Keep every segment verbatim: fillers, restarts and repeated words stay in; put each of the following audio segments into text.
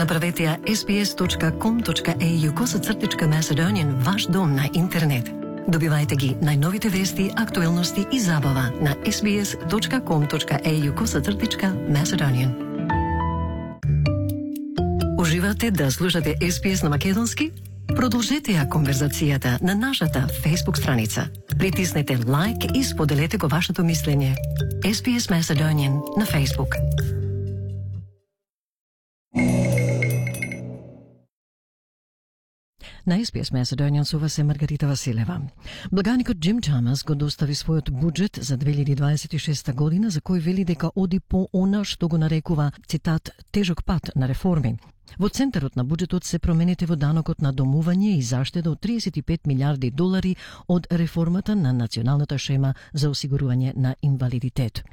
Направете ја ес би ес точка ком точка ей ю косацртичка Macedonian ваш дом на интернет. Добивајте ги најновите вести, актуелности и забава на ес би ес точка ком точка ей ю косацртичка Macedonian. Уживате да слушате ес би ес на македонски? Продолжете ја конверзацијата на нашата Facebook страница. Притиснете лайк и споделете го вашето мислење. ес би ес Macedonian на Facebook. На ес би ес Macedonian со вас е Маргарита Василева. Благаникот Джим Чамас го достави својот буџет за две илјади дваесет и шеста година, за кој вели дека оди по она што го нарекува, цитат, тежок пат на реформи. Во центарот на буџетот се промените во данокот на домување и заштеда од триесет и пет милиарди долари од реформата на националната шема за осигурување на инвалидитет.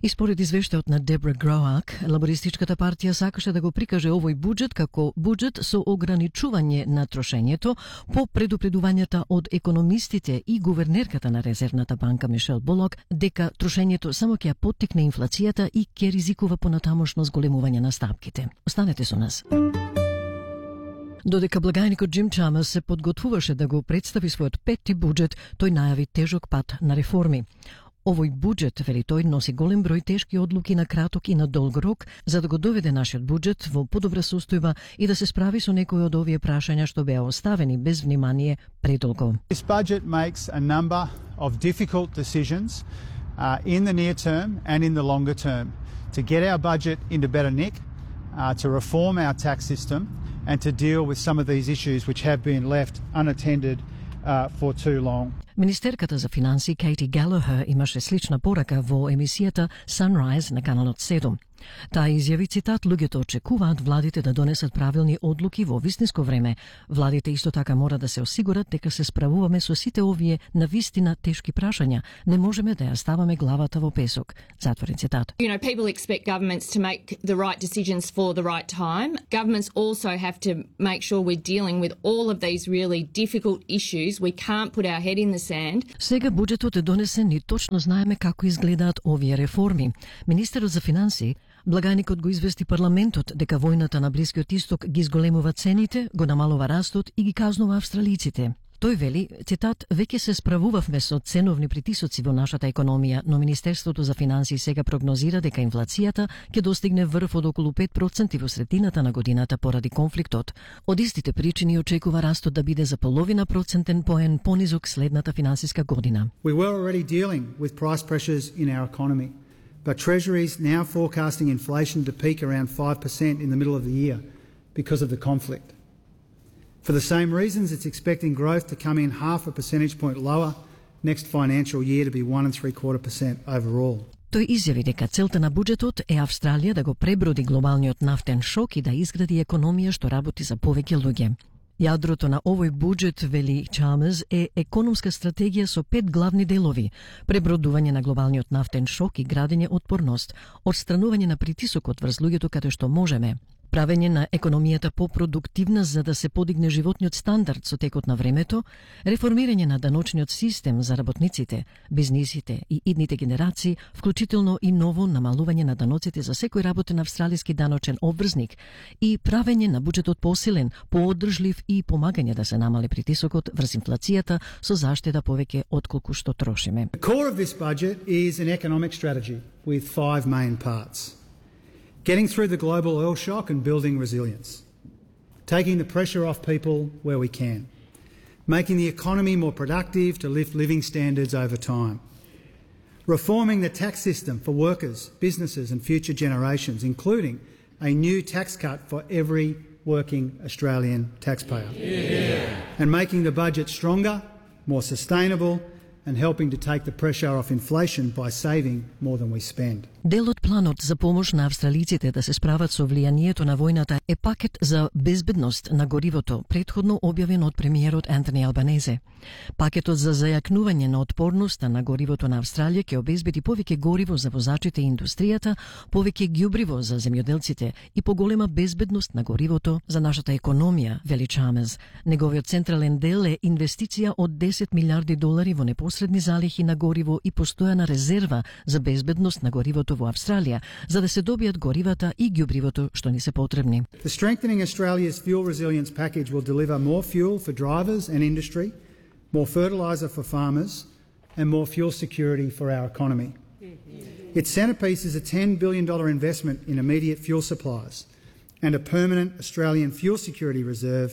И според извештајот на Дебра Гроак, лабористичката партија сакаше да го прикаже овој буџет како буџет со ограничување на трошењето по предупредувањата од економистите и гувернерката на Резервната банка Мишел Болок дека трошењето само ќе ја поттикне инфлацијата и ќе ризикува понатамошно зголемување на стапките. Останете со нас. Додека благајникот Джим Чамас се подготвуваше да го представи својот петти буџет, тој најави тежок пат на реформи. Овој буџет, вели тој, носи голем број тешки одлуки на краток и на долг рок за да го доведе нашиот буџет во подобра состојба и да се справи со некои од овие прашања што беа оставени без внимание предолго. This budget makes a number of difficult decisions uh, in the near term and in the longer term to get our budget into better nick, uh, to reform our tax system and to deal with some of these issues which have been left unattended uh, for too long. Министерката за финансии Кейти Галахер имаше слична порака во емисијата Sunrise на каналот седум. Таа изјави, цитат, луѓето очекуваат владите да донесат правилни одлуки во вистинско време. Владите исто така мора да се осигурат дека се справуваме со сите овие навистина тешки прашања. Не можеме да ја ставаме главата во песок. Затворен цитат. You know, people expect governments to make the right decisions for the right time. Governments also have to make sure we're dealing with all of these really difficult issues. We can't put our head in the sand. Сега буџетот е донесен и точно знаеме како изгледаат овие реформи. Министерот за финансии Благаникот го извести парламентот дека војната на Блискиот Исток ги изголемува цените, го намалува растот и ги казнува австралиците. Тој вели, цитат, веќе се справувавме со ценовни притисоци во нашата економија, но Министерството за финансии сега прогнозира дека инфлацијата ќе достигне врв од околу пет проценти во средината на годината поради конфликтот. Од истите причини очекува растот да биде за половина процентен поен понизок следната финансиска година. We were already dealing with price pressures in our economy. But Treasury is now forecasting inflation to peak around five percent in the middle of the year because of the conflict. For the same reasons, it's expecting growth to come in half a percentage point lower next financial year to be one and three quarter percent overall. Тој изјави дека целта на буџетот е Австралија да го преброди глобалниот нафтен шок и да изгради економија што работи за повеќе луѓе. Јадрото на овој буџет, вели Чамас, е економска стратегија со пет главни делови: пребродување на глобалниот нафтен шок и градење отпорност, отстранување на притисокот врз луѓето каде што можеме, правење на економијата попродуктивна за да се подигне животниот стандард со текот на времето, реформирање на даночниот систем за работниците, бизнисите и идните генерации, вклучително и ново намалување на даноците за секој работен австралиски даночен обврзник и правење на буџетот посилен, поодржлив и помагање да се намали притисокот врз инфлацијата со заштеда повеќе отколку што трошиме. The core of this budget is an economic strategy with five main parts. Getting through the global oil shock and building resilience. Taking the pressure off people where we can. Making the economy more productive to lift living standards over time. Reforming the tax system for workers, businesses and future generations, including a new tax cut for every working Australian taxpayer. Yeah. And making the budget stronger, more sustainable and helping to take the pressure off inflation by saving more than we spend. Дел од планот за помош на австралиците да се справат со влијанието на војната е пакет за безбедност на горивото, претходно објавен од премиерот Антони Албанезе. Пакетот за зајакнување на отпорноста на горивото на Австралија ќе обезбеди повеќе гориво за возачите и индустријата, повеќе ѓубриво за земјоделците и поголема безбедност на горивото за нашата економија, вели Чамас. Неговиот централен дел е инвестиција од десет милиарди долари во непосредно посредни залихи на гориво и постојана резерва за безбедност на горивото во Австралија, за да се добијат горивата и ѓубривото што ни се потребни. The strengthening Australia's fuel resilience package will deliver more fuel for drivers and industry, more fertiliser for farmers, and more fuel security for our economy. Its centrepiece is a ten billion dollars investment in immediate fuel supplies and a permanent Australian fuel security reserve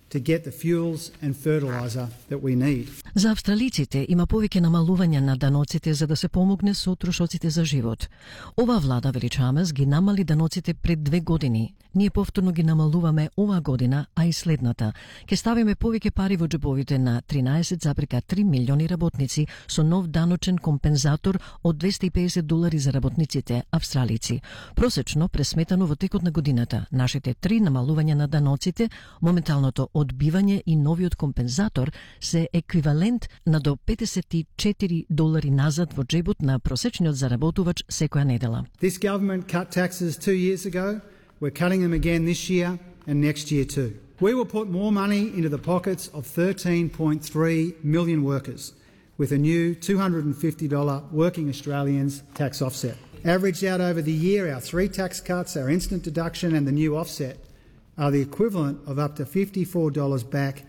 to get the fuels and fertiliser that we need. За австралиците има повеќе намалување на даноците за да се помогне со трошоците за живот. Ова влада, вели Чамес, ги намали даноците пред две години. Ние повторно ги намалуваме оваа година, а и следната. Ке ставиме повеќе пари во џебовите на тринаесет зарез и три милиони работници со нов даночен компензатор од двесте и педесет долари за работниците австралици. Просечно, пресметано во текот на годината, нашите три намалувања на даноците, моменталното одбивање и новиот компензатор се еквивалент на до петдесет и четири долари назад во џебот на просечниот заработувач секоја недела. This government cut taxes two years ago. We're cutting them again this year and next year too. We will put more money into the pockets of thirteen point three million workers with a new two hundred fifty dollars Working Australians tax offset. Averaged out over the year, our three tax cuts, our instant deduction and the new offset are the equivalent of up to fifty-four dollars back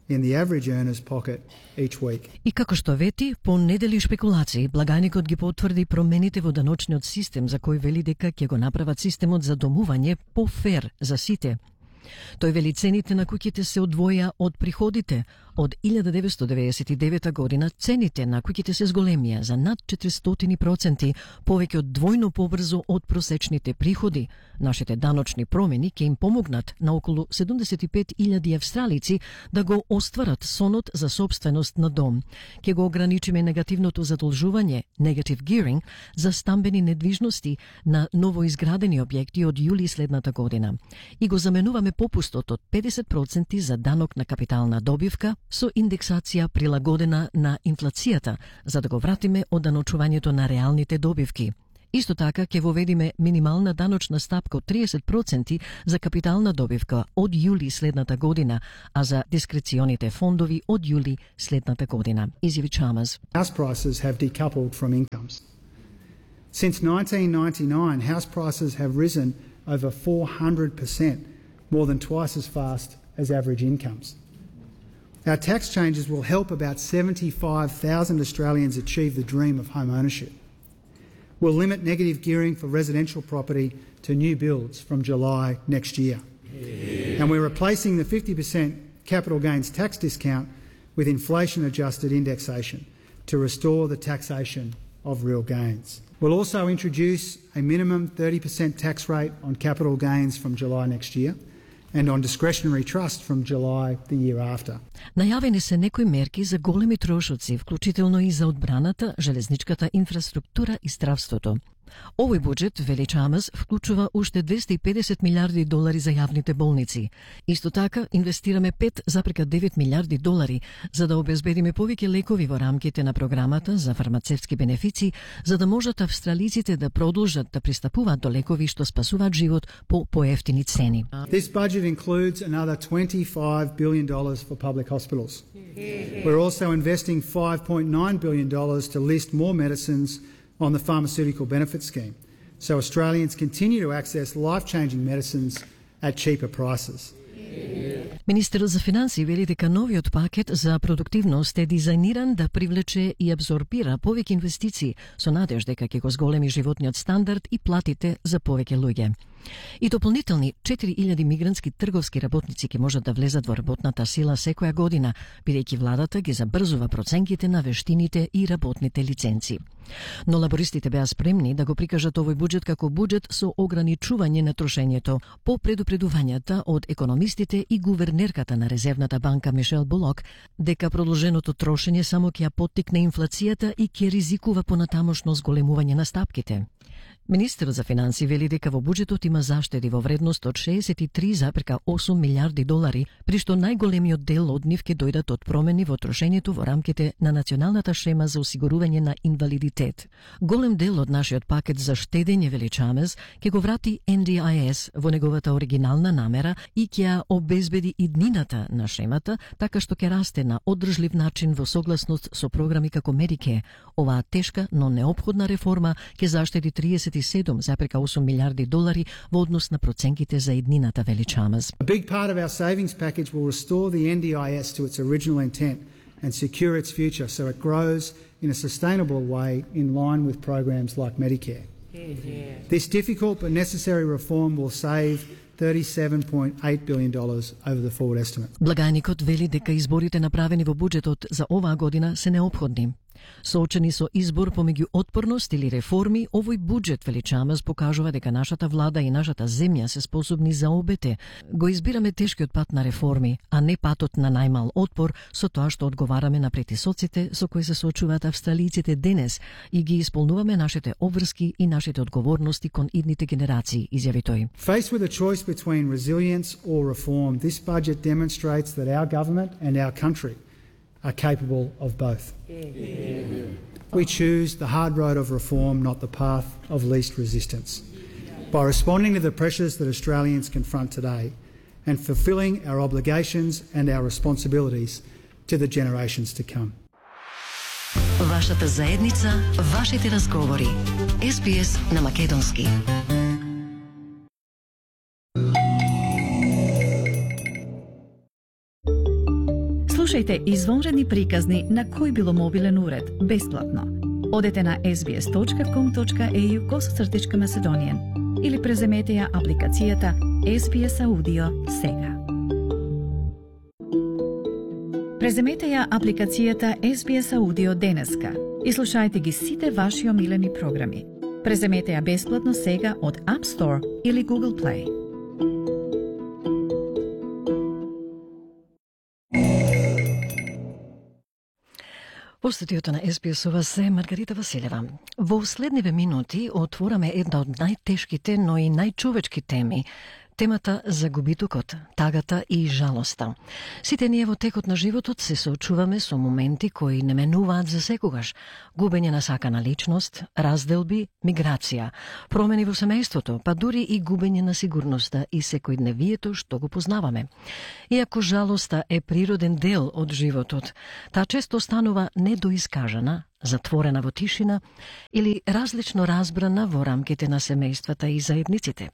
in the average earner's pocket each week. И како што вети, по недели шпекулации, благајникот ги потврди промените во даночниот систем за кој вели дека ќе го направат системот за домување по-фер за сите. Тој вели цените на куќите се одвоја од приходите. Од илјада деветстотини деветдесет и девета година цените на куќите се зголемија за над четиристотини проценти, повеќе од двојно побрзо од просечните приходи. Нашите даночни промени ќе им помогнат на околу седумдесет и пет илјади австралици да го остварат сонот за собственост на дом. Ќе го ограничиме негативното задолжување, negative gearing, за стамбени недвижности на новоизградени објекти од јули следната година. И го заменуваме попустот од педесет проценти за данок на капитална добивка со индексација прилагодена на инфлацијата, за да го вратиме оданочувањето на реалните добивки. Исто така ќе воведиме минимална даночна стапка од триесет проценти за капитална добивка од јули следната година, а за дискреционите фондови од јули следната година. Изјави Чамес. House prices have decoupled from incomes. Since nineteen ninety-nine, house prices have risen over four hundred percent, more than twice as fast as average incomes. Our tax changes will help about seventy-five thousand Australians achieve the dream of home ownership. We'll limit negative gearing for residential property to new builds from July next year. Yeah. And we're replacing the fifty percent capital gains tax discount with inflation-adjusted indexation to restore the taxation of real gains. We'll also introduce a minimum thirty percent tax rate on capital gains from July next year and on discretionary trust from July the year after. Најавени се некои мерки за големи трошоци, вклучително и за одбраната, железничката инфраструктура и здравството. Овој буџет, вели Чамес, вклучува уште двесте и педесет милиарди долари за јавните болници. Исто така, инвестираме пет зарез девет милиарди долари за да обезбедиме повеќе лекови во рамките на програмата за фармацевтски бенефици, за да можат австралиците да продолжат да пристапуваат до лекови што спасуваат живот по поевтини цени. This budget includes another twenty-five billion dollars for public hospitals. We're also investing five point nine billion dollars to list more medicines on the pharmaceutical benefit scheme, so Australians continue to access life-changing medicines at cheaper prices. Министерот за финансии вели дека новиот пакет за продуктивност е дизајниран да привлече и абсорбира повеќе инвестиции со надеж дека ќе го зголеми животниот стандард и платите за повеќе луѓе. И дополнителни четири илјади мигрантски трговски работници ќе можат да влезат во работната сила секоја година, бидејќи владата ги забрзува проценките на вештините и работните лиценци. Но лабористите беа спремни да го прикажат овој буџет како буџет со ограничување на трошењето по предупредувањата од економистите и гувернерката на Резервната банка Мишел Булок дека продолженото трошење само ќе ја поттикне инфлацијата и ќе ризикува понатамошно зголемување на стапките. Министерот за финансии вели дека во буџетот има заштеди во вредност од шеесет и три зарез осум милиарди долари, при што најголемиот дел од нив ќе дојдат од промени во трошењето во рамките на националната шема за осигурување на инвалидитет. Голем дел од нашиот пакет за штедење, вели Чамез, ќе го врати Ен Ди Ай Ес во неговата оригинална намера и ќе ја обезбеди иднината на шемата, така што ќе расте на одржлив начин во согласност со програми како Медике. Оваа тешка, но неопходна реформа ќе заштеди триесет и седум зарез осум милиарди долари во однос на проценките за иднината, вели Чамез. A big part of our savings package will restore the Ен Ди Ай Ес to its original intent and secure its future so it grows in a sustainable way in line with programs like Medicare. Yeah. This difficult but necessary reform will save thirty-seven point eight billion dollars over the forward estimate. Благајникот вели дека изборите направени во буџетот за оваа година се неопходни. Соочени со избор помеѓу отпорност или реформи, овој буџет, вели Чамез, покажува дека нашата влада и нашата земја се способни за обете. Го избираме тешкиот пат на реформи, а не патот на најмал отпор, со тоа што одговараме на притисоците со кои се соочуваат австралијците денес и ги исполнуваме нашите обврски и нашите одговорности кон идните генерации, изјави тој. Faced with a choice between resilience or reform, this budget demonstrates that our government and our country are capable of both. Yeah. We choose the hard road of reform, not the path of least resistance. By responding to the pressures that Australians confront today and fulfilling our obligations and our responsibilities to the generations to come. Вашата заедница, вашите разговори. Ес Би Ес на македонски. Слушајте извонредни приказни на кој било мобилен уред, бесплатно. Одете на ес би ес точка ком точка ей ю косацртичка Macedonian или преземете ја апликацијата Ес Би Ес Аудио сега. Преземете ја апликацијата Ес Би Ес Аудио денеска и слушајте ги сите ваши омилени програми. Преземете ја бесплатно сега од App Store или Google Play. Во студиото на Ес Би Ес ова се Маргарита Василева. Во следниве минути отвораме една од најтешките, но и најчовечки теми. Темата за губитокот, тагата и жалоста. Сите ние во текот на животот се соочуваме со моменти кои не менуваат за секогаш. Губење на сакана личност, разделби, миграција, промени во семејството, па дури и губење на сигурноста и секојдневието што го познаваме. Иако жалоста е природен дел од животот, таа често станува недоискажана, затворена во тишина или различно разбрана во рамките на семејствата и заедниците.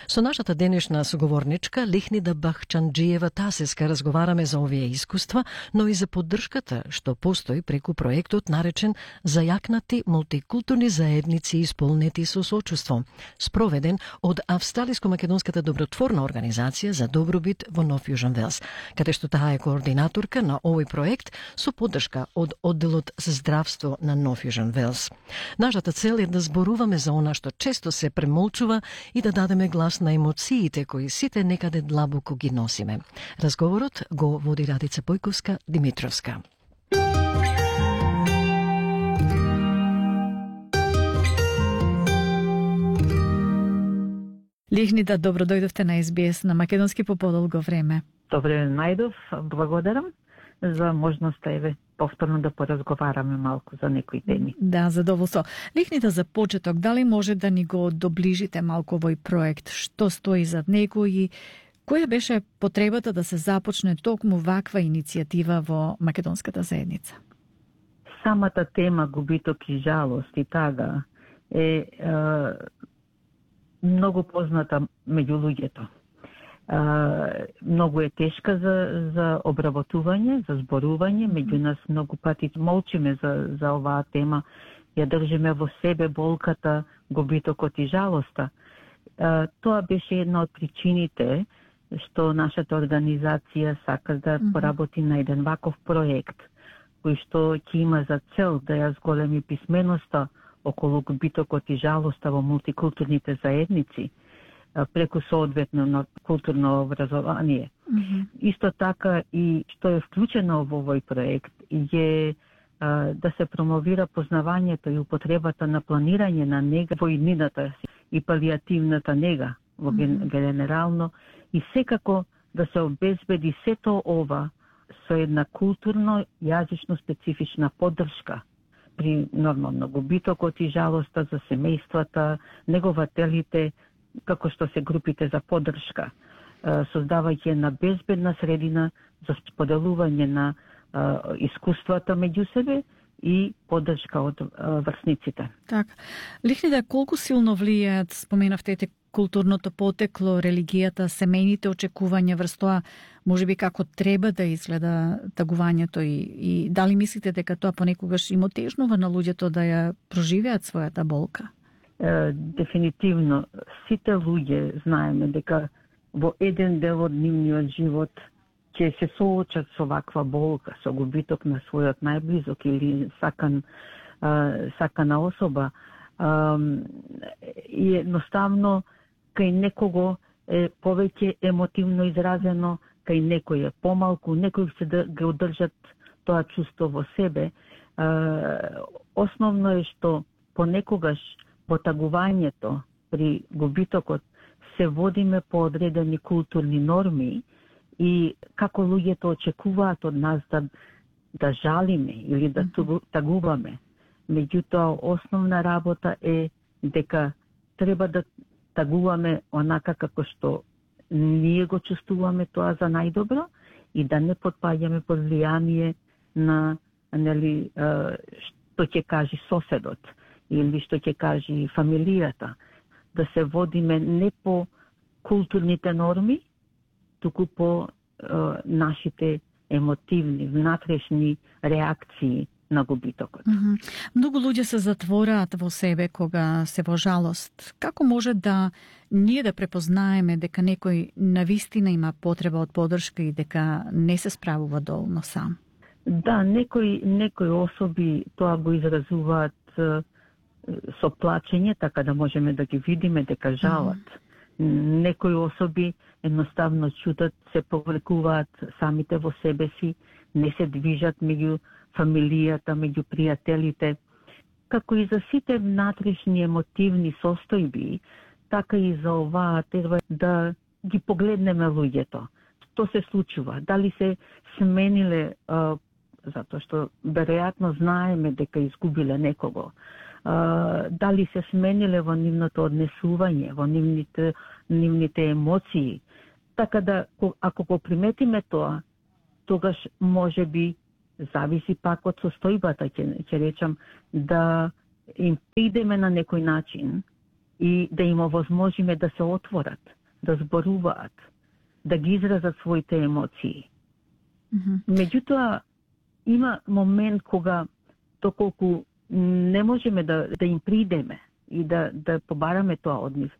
Со нашата денешна соговорничка Лихнида Бахчанџиева Тасеска разговараме за овие искуства, но и за поддршката што постои преку проектот наречен Зајакнати мултикултурни заедници исполнети со сочувство, спроведен од Австралиско-македонската добротворна организација за добробит во Нов Јужен Велс, каде што таа е координаторка на овој проект со поддршка од одделот за здравство на Нов Јужен Велс. Нашата цел е да зборуваме за она што често се премолчува и да дадеме глас на емоциите кои сите некаде длабоко ги носиме. Разговорот го води Радица Појковска Димитровска. Лихнида, добро дојдовте на Ес Би Ес на македонски по подолго време. Добре најдов, благодарам за можноста еве повторно да поразговараме малку за некои теми. Да, задоволство. Лихнида, за почеток, дали може да ни го доближите малку овој проект, што стои зад него и која беше потребата да се започне токму ваква иницијатива во македонската заедница? Самата тема губиток и жалост и тага е, е многу позната меѓу луѓето. Uh, многу е тешка за, за обработување, за зборување, меѓу нас многу пати молчиме за, за оваа тема, ја држиме во себе болката, губитокот и жалоста. Uh, тоа беше една од причините што нашата организација сака да mm-hmm. поработи на еден ваков проект, кој што ќе има за цел да ја зголеми писменоста околу губитокот и жалоста во мултикултурните заедници, преку соодветно на културно образование. Mm-hmm. Исто така и што е вклучено во овој проект е да се промовира познавањето и употребата на планирање на нега во иднината и палиативната нега во mm-hmm. генерално и секако да се обезбеди сето ова со една културно јазично специфична поддршка при нормално губитокот и жалоста за семејствата, негователите, како што се групите за поддршка, создавајќи една безбедна средина за споделување на искуствата меѓу себе и поддршка од врсниците. Така. Лихните колку силно влијаат, споменавте, културното потекло, религијата, семејните очекувања врз тоа, можеби како треба да изгледа тагувањето и, и дали мислите дека тоа понекогаш им отежнува на луѓето да ја проживеат својата болка? Е, дефинитивно, сите луѓе знаеме дека во еден дел од нивниот живот ќе се соочат со ваква болка, со губиток на својот најблизок или сакан, а, сакана особа. А, и едноставно, кај некого е повеќе емотивно изразено, кај некој е помалку, некој се да го одржат тоа чувство во себе. А, основно е што понекогаш во тагувањето при губитокот се водиме по одредени културни норми и како луѓето очекуваат од нас да, да жалиме или да тагуваме. Меѓутоа, основна работа е дека треба да тагуваме онака како што ние го чувствуваме тоа за најдобро и да не подпаѓаме под влијание на, нели, што ќе кажи соседот или што ќе кажи фамилијата. Да се водиме не по културните норми, туку по е, нашите емотивни, внатрешни реакции на губитокот. Mm-hmm. Многу луѓе се затвораат во себе кога се во жалост. Како може да ние да препознаеме дека некој навистина има потреба од поддршка и дека не се справува доволно сам? Да, некои, некои особи тоа го изразуваат е, со плачење, така да можеме да ги видиме дека жалат. Mm-hmm. Некои особи едноставно чутат, се повлекуваат самите во себе си, не се движат меѓу фамилијата, меѓу пријателите. Како и за сите внатрешни емотивни состојби, така и за оваа треба да ги погледнеме луѓето. Што се случува? Дали се смениле, а, затоа што веројатно знаеме дека изгубиле некого, Uh, дали се смениле во нивното однесување, во нивните, нивните емоции. Така да, ако го приметиме тоа, тогаш може би, зависи пак од состојбата, ќе, ќе речам, да им придеме на некој начин и да им овозможиме да се отворат, да зборуваат, да ги изразат своите емоции. Mm-hmm. Меѓутоа, има момент кога доколку не можеме да, да им придеме и да, да побараме тоа од нив.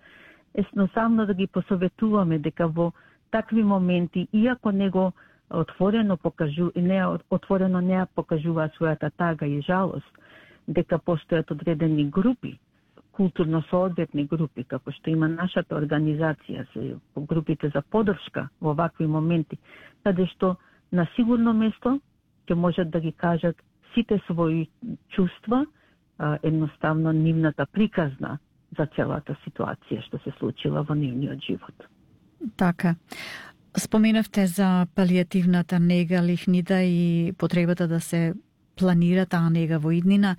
Едноставно да ги посоветуваме дека во такви моменти, иако него отворено покажу, не отворено не покажува својата тага и жалост, дека постојат одредени групи, културно соодветни групи, како што има нашата организација, се групите за поддршка во вакви моменти, каде што на сигурно место ќе можат да ги кажат сите своји чувства, едноставно нивната приказна за целата ситуација што се случила во нивниот живот. Така. Споменавте за палиативната нега, лихнида и потребата да се планира таа нега во иднина.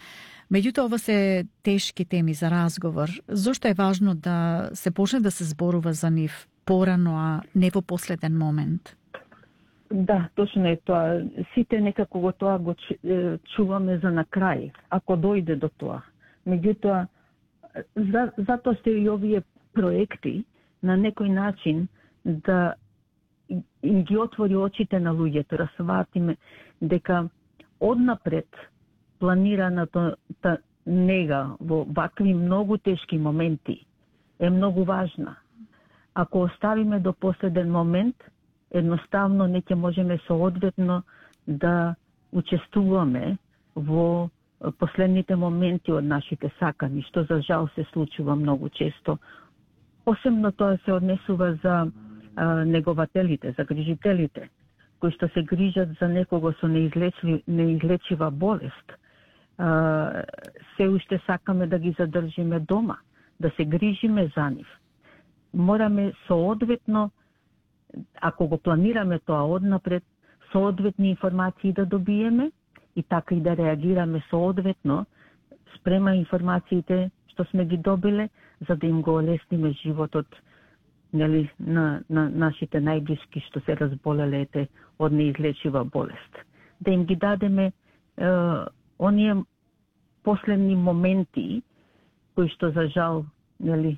Меѓутоа, ова се тешки теми за разговор. Зошто е важно да се почне да се зборува за нив порано, а не во последен момент? Да, точно е тоа. Сите некако го тоа го чуваме за на крај, ако дојде до тоа. Меѓутоа, за, затоа се и овие проекти на некој начин да им ги отвори очите на луѓето, да сватиме дека однапред планираната нега во вакви многу тешки моменти е многу важна. Ако оставиме до последен момент, едноставно не ќе можеме соодветно да учествуваме во последните моменти од нашите сакани, што за жал се случува многу често. Посебно тоа се однесува за а, негователите, за грижителите, кои што се грижат за некого со неизлечива, неизлечива болест, а, се уште сакаме да ги задржиме дома, да се грижиме за нив. Мораме соодветно, ако го планираме тоа однапред, соодветни информации да добиеме и така и да реагираме соодветно спрема информациите што сме ги добиле, за да им го олесниме животот, нели, на, на нашите најблиски што се разболеле ете од неизлечива болест. Да им ги дадеме е, оние последни моменти кои што за жал, нели,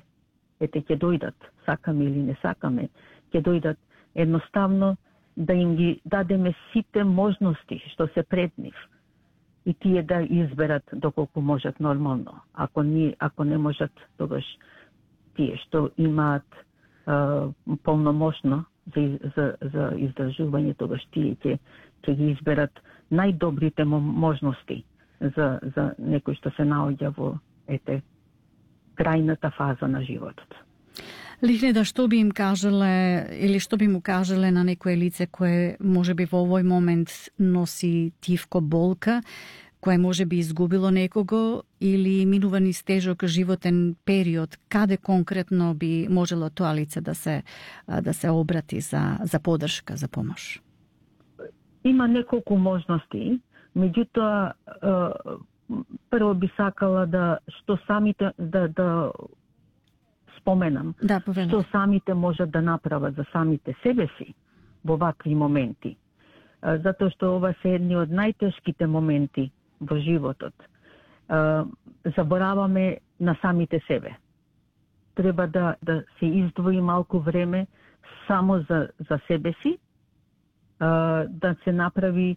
ете ќе дојдат, сакаме или не сакаме, ќе дојдат, едноставно да им ги дадеме сите можности што се пред нив и тие да изберат доколку можат нормално. Ако ни, ако не можат, тогаш тие што имаат е, полномошно за, за, за издржување, тогаш тие ќе ќе ги изберат најдобрите можности за, за некој што се наоѓа во ете крајната фаза на животот. Лихнеда, што би им кажале или што би му кажале на некое лице кое може би во овој момент носи тивко болка, кое може би изгубило некого или минува низ тежок животен период, каде конкретно би можело тоа лице да се да се обрати за за поддршка, за помош? Има неколку можности, меѓутоа прво би сакала да што самите да да споменам, да, што самите можат да направат за самите себе си во вакви моменти. Затоа што ова се едни од најтешките моменти во животот. Забораваме на самите себе. Треба да, да се издвои малку време само за, за себе си, да се направи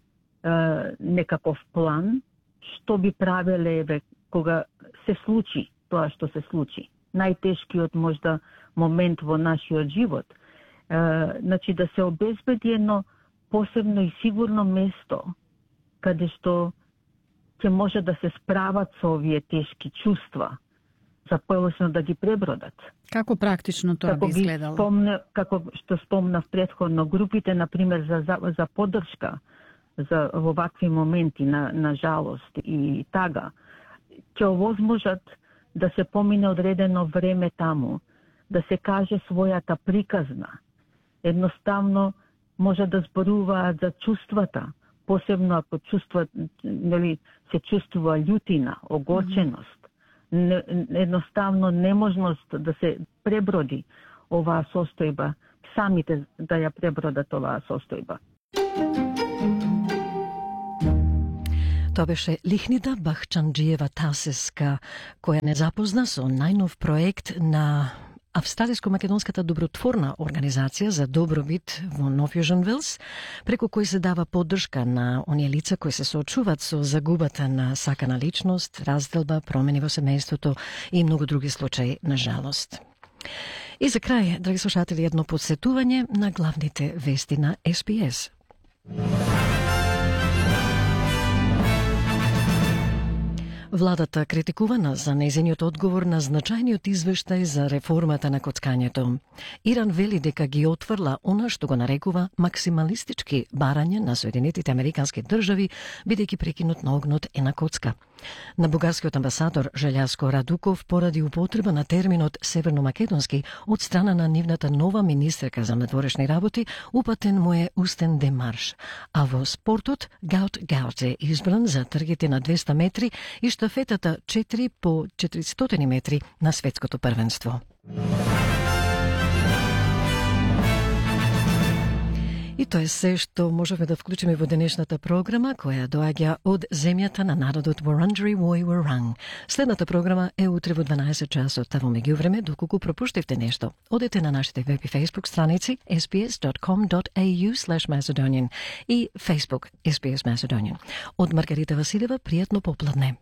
некаков план, што би правеле еве кога се случи тоа што се случи. Најтешкиот можда момент во нашиот живот. Е, значи да се обезбеди едно посебно и сигурно место каде што ќе може да се справат со овие тешки чувства, за полесно да ги пребродат. Како практично тоа како би изгледало? Спомне, како што спомнав претходно, групите, например, за, за, за поддршка за во вакви моменти на, на жалост и тага, ќе овозможат да се помине одредено време таму, да се каже својата приказна. Едноставно може да зборуваат за чувствата, посебно ако чувстват, нели, се чувствува љутина, огорченост, не, едноставно неможност да се преброди оваа состојба, самите да ја пребродат оваа состојба. Тоа беше Лихнида Бахчанџиева Тасеска, која не запозна со најнов проект на Австралиско-македонската добротворна организација за добробит во Нов Јужен Велс, преку кој се дава поддршка на оние лица кои се соочуваат со загубата на сакана личност, разделба, промени во семејството и многу други случаи на жалост. И за крај, драги слушатели, едно подсетување на главните вести на Ес Би Ес. Владата критикувана за нејзиниот одговор на значајниот извештај за реформата на коцкањето. Иран вели дека ги отфрла она што го нарекува максималистички барања на Соединетите Американски држави, бидејќи прекинот на огнот е на коцка. На бугарскиот амбасадор Желјаско Радуков поради употреба на терминот северномакедонски од страна на нивната нова министерка за надворешни работи, упатен му е устен демарш. А во спортот Гаут Гаут е избран за тргите на двеста метри и штафетата четири по четиристотини метри на светското првенство. И тоа е се што можеме да вклучиме во денешната програма, која доаѓа од земјата на народот Wurundjeri Woi Wurrung. Следната програма е утре во дванаесет часот, а во меѓувреме, доколку пропуштивте нешто, одете на нашите веб и фейсбук страници ес би ес дот ком дот ей ю слеш macedonian и Facebook ес би ес Macedonian. Од Маргарита Василева, пријатно попладне.